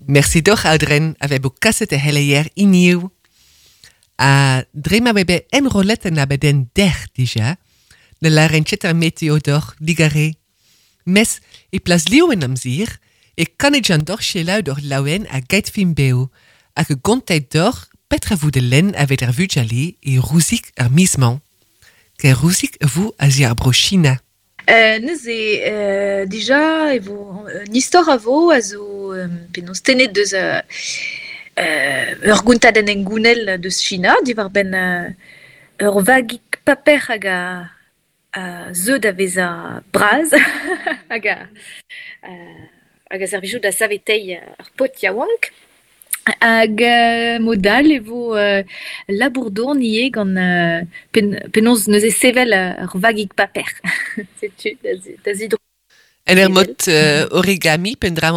Mersi doc'h Aodren a vez bo kaset e c'heleier hiniv. Ha dre ma vez bet enrollet an abadenn dec'h dija, ne lâren ket ar meteo doc'h digare. Mes e plas liv en amzer e kanet doc'h selaou doc'h laouen a geit film bev hag e gontet doc'h petra vo de lenn evet ar vugale e Rouzik ar miz-mañ. Ker Rouzik vo a zi ar bro China. Neuze dija e vo un istor a vo a zo penaos tennet deus ur gontadenn hengounel deus China diwar-benn ur vagig paper hag a a zeu da vezañ bras hag a hag a servijo da saveteiñ ar paotr yaouank. Hag mod all e vo labour-dourn ivez gant penaos neuze sevel ur vagig paper. Setu da zidro. En ur mod origami, peogwir.